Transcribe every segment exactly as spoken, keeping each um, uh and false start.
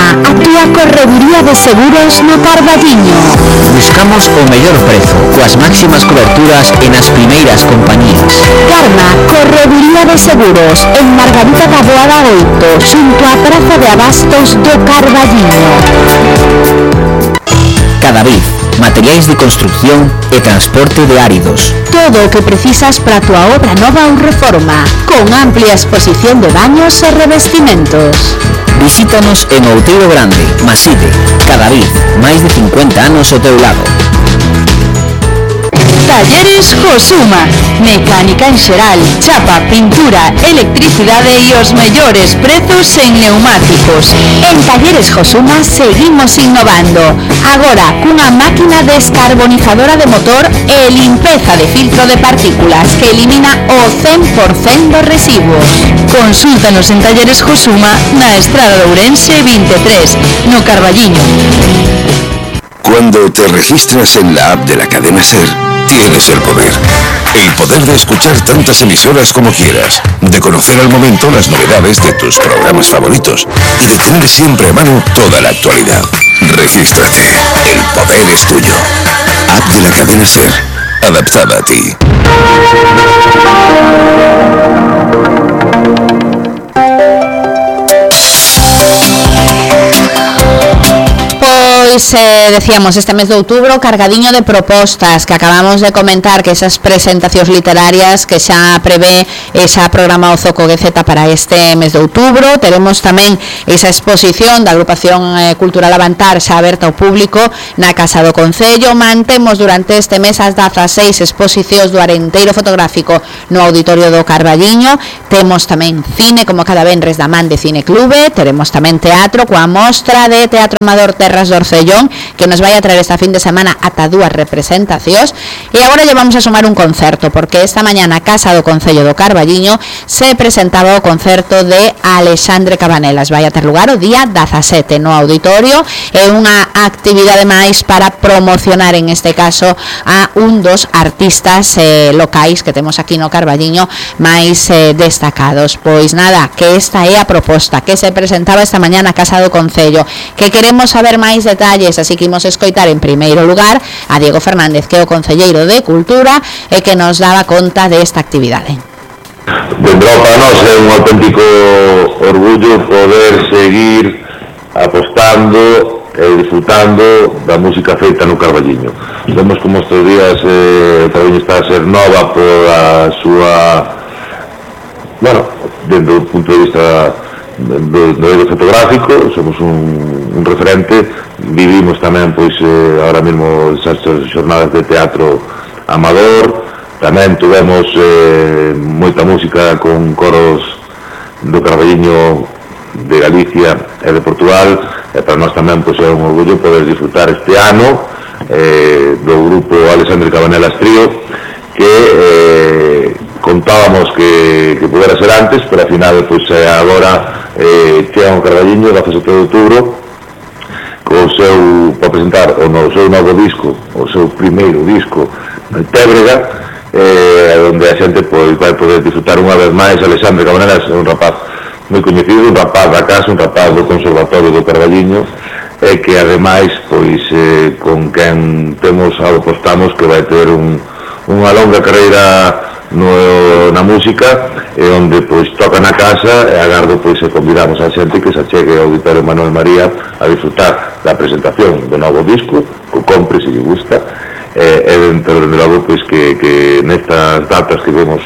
Karma, a túa correduría de seguros no Carballiño. Buscamos o mellor prezo, coas máximas coberturas e nas primeiras compañías. Karma, correduría de seguros, en Margarita da Boada oito, xunto á Praza de Abastos do Carballiño. Cadavid, materiais de construcción e transporte de áridos. Todo o que precisas para a túa obra nova ou reforma, con amplia exposición de baños e revestimentos. Visítanos en Outeiro Grande, Maside, Cadavid, máis de cincuenta anos ao teu lado. Talleres Josuma, mecánica en xeral, chapa, pintura, electricidade e os mellores prezos en neumáticos. En Talleres Josuma seguimos innovando, agora cunha máquina descarbonizadora de motor e limpeza de filtro de partículas que elimina o cen por cento dos residuos. Consúltanos en Talleres Josuma na Estrada de Ourense vinte e tres, no Carballiño. Cuando te registras en la app de la cadena SER, tienes el poder. El poder de escuchar tantas emisoras como quieras, de conocer al momento las novedades de tus programas favoritos y de tener siempre a mano toda la actualidad. Regístrate. El poder es tuyo. App de la cadena SER, adaptada a ti. Pois eh, decíamos, este mes de outubro cargadiño de propostas que acabamos de comentar, que esas presentacións literarias que xa prevé esa programa o Zoco G Z para este mes de outubro. Teremos tamén esa exposición da agrupación eh, cultural Avantar xa aberta ao público na Casa do Concello. Mantemos durante este mes as dezaseis exposicións do Arenteiro Fotográfico no Auditorio do Carballiño. Temos tamén cine, como cada venres da man de Cine Clube. Teremos tamén teatro coa mostra de Teatro Amador Terras do Orcellón, que nos vai a traer esta fin de semana ata dúas representacións. E agora lle vamos a sumar un concerto, porque esta mañana a Casa do Concello do Carballiño se presentaba o concerto de Alexandre Cabanelas. Vai a ter lugar o día dezasete no auditorio. É unha actividade máis para promocionar, en este caso, a un dos artistas eh, locais que temos aquí no Carballiño máis eh, destacados. Pois nada, que esta é a proposta que se presentaba esta mañana a Casa do Concello, que queremos saber máis detalles, así que imos escoitar en primeiro lugar a Diego Fernández, que é o concelleiro de Cultura e que nos daba conta desta actividade. Dentro para nós é un auténtico orgullo poder seguir apostando e disfrutando da música feita no Carballiño. Vemos como estes días eh, o Carballiño está a ser nova por a súa, bueno, dentro do punto de vista do, do medio fotográfico, somos un, un referente. Vivimos tamén, pois, eh, ahora mesmo esas xornadas de teatro amador. Tamén tuvemos eh, moita música con coros do Carballiño, de Galicia e de Portugal, e para nós tamén, pois, é un orgullo poder disfrutar este ano eh, do grupo Alexandre Cabanelas Trío, que eh, contábamos que, que pudera ser antes, pero ao final, pois, agora eh, chega un Carballiño, dezasete de outubro, co seu, para presentar o, no, o seu novo disco, o seu primeiro disco, Tébrega, eh, onde a xente pois, vai poder disfrutar unha vez máis. Alexandre Cabanelas é un rapaz moi coñecido, un rapaz da casa, un rapaz do Conservatorio do Carballiño, e que ademais, pois, eh, con quen temos, apostamos que vai ter un, unha longa carreira no, na música, e onde, pois, toca na casa, e agardo, pois, e convidamos a xente que se achegue ao Auditorio Manuel María a disfrutar da presentación do novo disco, que compre se lle gusta, e, e dentro de logo, pois, que, que nestas datas que vemos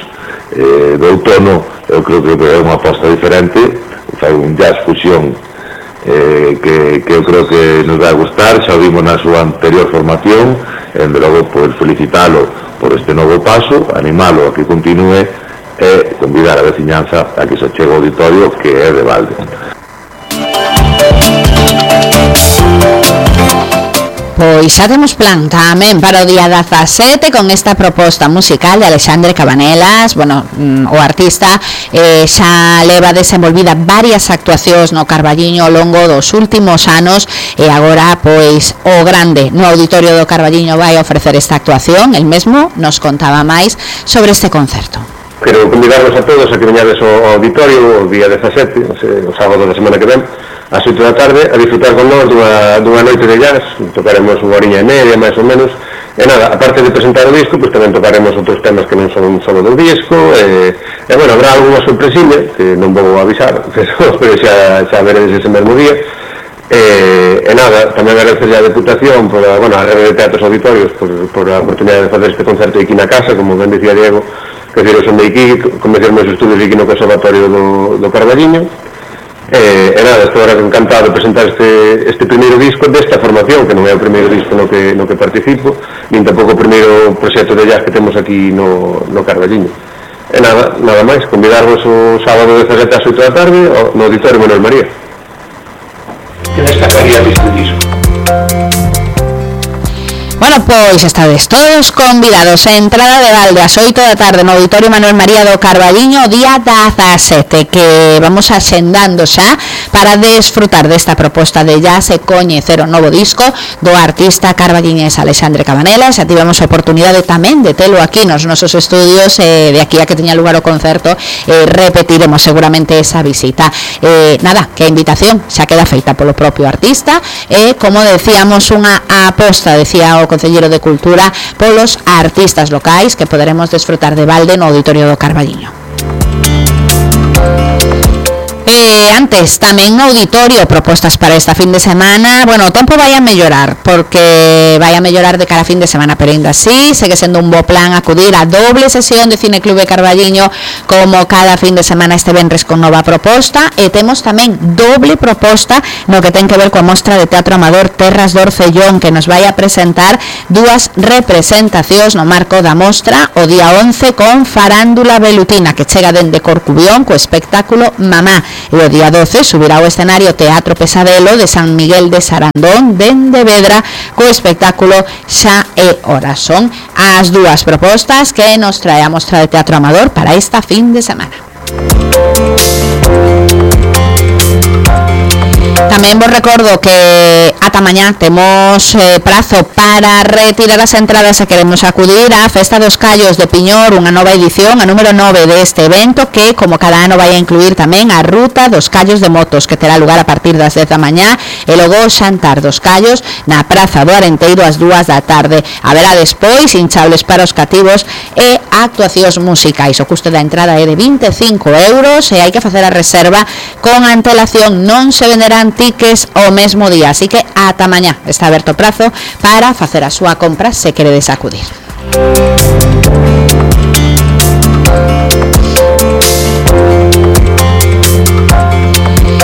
eh, do outono, eu creo que é unha aposta diferente, fai un jazz fusión eh, que, que eu creo que nos vai a gustar. Xa o vimos na súa anterior formación, e de logo, pois, felicitalo por este novo paso, animalo a que continúe e convidar a veciñanza a que se chegue ao auditorio, que é de balde. Pois xa temos plan tamén para o día dezasete con esta proposta musical de Alexandre Cabanelas. Bueno, o artista eh, xa leva desenvolvida varias actuacións no Carballiño ao longo dos últimos anos, e agora, pois, o grande no Auditorio do Carballiño vai ofrecer esta actuación. El mesmo nos contaba máis sobre este concerto. Quero convidarvos a todos a que veñades ao auditorio o día dezasete, o sábado da semana que ven, ás oito da tarde a disfrutar con nós dunha, dunha noite de jazz. Tocaremos unha horiña e media, máis ou menos. E nada, aparte de presentar o disco, pues tamén tocaremos outros temas que non son solo do disco, e, e bueno, habrá algunha sorpresiña, que non vou avisar, pero, pero xa, xa veredes ese mesmo día. E, e nada, tamén agradecer a Deputación por a, bueno, a Rede de Teatros Auditorios por, por a oportunidade de facer este concerto aquí na casa, como ben dicía Diego, que decir, eu son de aquí, comecei meus estudios aquí no Conservatorio do, do Carballiño. E, e nada, estou agora encantado de presentar este, este primeiro disco desta formación, que non é o primeiro disco no que, no que participo, nin tampouco o primeiro proxecto de jazz que temos aquí no, no Carballiño. E nada, nada máis, convidarvos o sábado dezasete ás oito da tarde no Auditorio Manuel María. Que destacaría deste disco? Bueno, pois estades todos convidados a entrada de balde ás oito da tarde no Auditorio Manuel María do Carballiño o día dezasete, que vamos axendando xa para desfrutar desta proposta de jazz e coñecer o novo disco do artista carballiñés Alexandre Cabanela. Xa tivemos a oportunidade tamén de telo aquí nos nosos estudios, eh, de aquí a que teña lugar o concerto, eh, repetiremos seguramente esa visita. Eh, nada, que a invitación xa queda feita polo propio artista, e eh, como decíamos, unha aposta, decía o Concelleiro de Cultura, polos artistas locais que poderemos desfrutar de balde no Auditorio do Carballiño. Eh, antes, tamén no auditorio, propostas para esta fin de semana. Bueno, o tempo vai a mellorar, porque vai a mellorar de cara a fin de semana, pero ainda así segue sendo un bo plan acudir a doble sesión de Cineclube Carballiño como cada fin de semana este venres con nova proposta, e temos tamén doble proposta no que ten que ver coa mostra de teatro amador Terras do Orcellón, que nos vai a presentar dúas representacións no marco da mostra o día once con Farándula Velutina, que chega dende Corcubión co espectáculo Mamá. E o día doce subirá ao escenario Teatro Pesadelo de San Miguel de Sarandón dende Vedra co espectáculo Xa é Hora. Son as dúas propostas que nos trae a mostra de teatro amador para esta fin de semana. Tamén vos recordo que ata mañá temos eh, prazo para retirar as entradas se queremos acudir á Festa dos Callos de Piñor, unha nova edición, a número nove deste evento, que como cada ano vai a incluir tamén a Ruta dos Callos de Motos, que terá lugar a partir das dez da mañá, e logo o xantar dos Callos na Praza do Arenteiro ás dúas da tarde. Haberá despois hinchables para os cativos e actuacións musicais. O custo da entrada é de vinte e cinco euros e hai que facer a reserva con antelación. Non se venderán tickets o mesmo día, así que ata mañá está aberto o prazo para facer a súa compra se queredes acudir.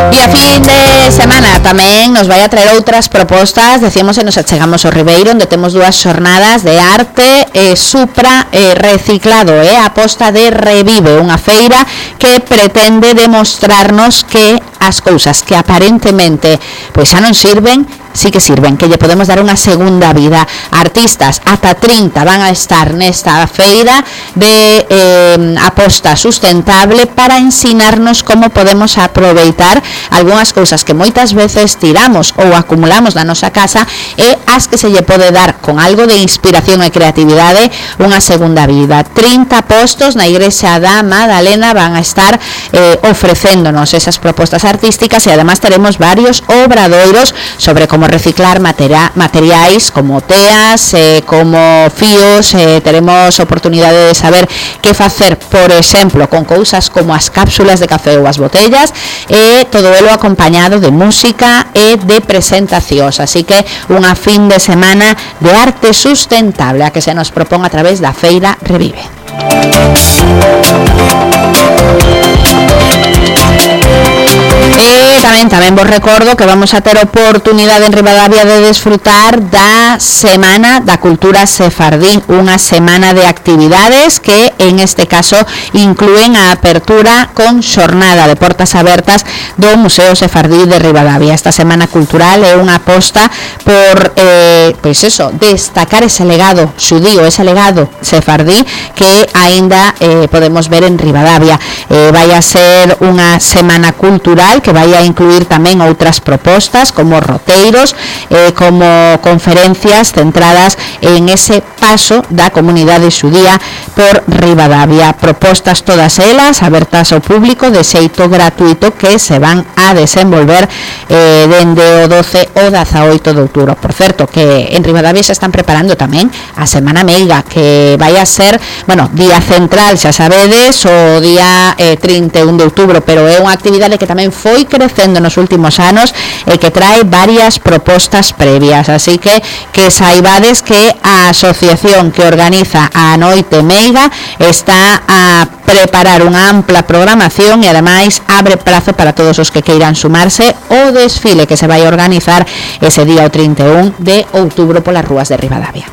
E a fin de semana tamén nos vai a traer outras propostas. Decíamos e nos achegamos ao Ribeiro, onde temos dúas xornadas de arte e supra e reciclado, e a aposta de Revive, unha feira que pretende demostrarnos que as cousas que aparentemente pois xa non sirven, sí que sirven, que lle podemos dar unha segunda vida. Artistas ata trinta van a estar nesta feira de eh, aposta sustentable para ensinarnos como podemos aproveitar algunhas cousas que moitas veces tiramos ou acumulamos na nosa casa, e as que se lle pode dar con algo de inspiración e creatividade unha segunda vida. trinta postos na Igrexa da Madalena van a estar eh, ofrecéndonos esas propostas artísticas, e además teremos varios obradoiros sobre como reciclar materia, materiais como teas, eh, como fíos. Eh, teremos oportunidade de saber que facer, por exemplo, con cousas como as cápsulas de café ou as botellas, e todo elo acompañado de música e de presentacións. Así que unha fin de semana de arte sustentable a que se nos propón a través da Feira Revive. E tamén, tamén vos recordo que vamos a ter oportunidade en Ribadavia de desfrutar da Semana da Cultura Sefardí, unha semana de actividades que en este caso inclúen a apertura con xornada de portas abertas do Museo Sefardí de Ribadavia. Esta semana cultural é unha aposta por eh, pois eso, destacar ese legado xudío, ese legado sefardí que aínda eh, podemos ver en Ribadavia. Eh, vai a ser unha semana cultural que vai a incluir incluir tamén outras propostas como roteiros, eh, como conferencias centradas en ese paso da comunidade xudía por Ribadavia. Propostas todas elas abertas ao público de xeito gratuito que se van a desenvolver eh, dende o doce ao dezaoito de outubro. Por certo, que en Ribadavia se están preparando tamén a Semana Meiga, que vai a ser, bueno, día central, xa sabedes, o día eh, trinta e un de outubro, pero é unha actividade que tamén foi crecendo nos últimos anos e que trae varias propostas previas, así que que saibades que a asociación que organiza a Noite Meiga está a preparar unha ampla programación e ademais abre prazo para todos os que queiran sumarse ao desfile que se vai a organizar ese día o trinta e un de outubro polas rúas de Ribadavia.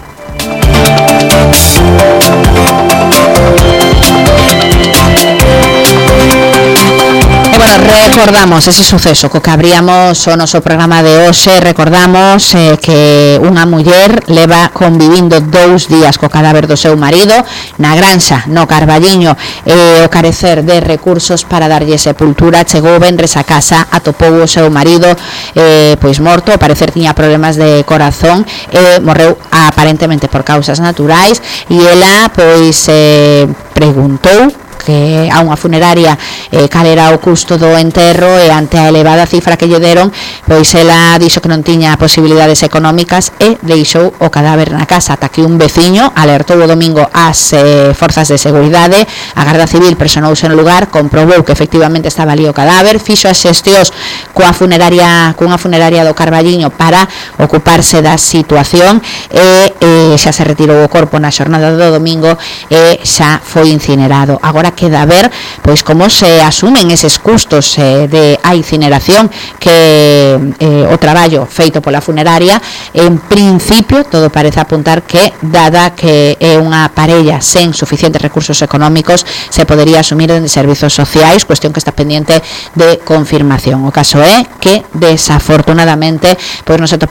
E bueno, recordamos ese suceso co que abríamos o noso programa de hoxe. Recordamos eh, que unha muller leva convivindo dous días co cadáver do seu marido na granxa, no Carballiño, e eh, o carecer de recursos para darlle sepultura chegou venres a casa, atopou o seu marido eh, pois morto, ao parecer tiña problemas de corazón e eh, morreu aparentemente por causas naturais, e ela pois eh, preguntou que a unha funeraria eh, cal era o custo do enterro, e ante a elevada cifra que lle deron, pois ela dixo que non tiña posibilidades económicas e deixou o cadáver na casa, ata que un veciño alertou o domingo ás eh, forzas de seguridade. A Garda Civil personouse no lugar, comprobou que efectivamente estaba ali o cadáver, fixo as xestións coa funeraria, cunha funeraria do Carballiño para ocuparse da situación e eh, xa se retirou o corpo na xornada do domingo e xa foi incinerado. Agora queda ver pois como se asumen eses custos eh, de a incineración, que eh, o traballo feito pola funeraria. En principio todo parece apuntar que, dada que é unha parella sen suficientes recursos económicos, se podería asumir en servizos sociais, cuestión que está pendiente de confirmación. O caso é que desafortunadamente pois nos atopamos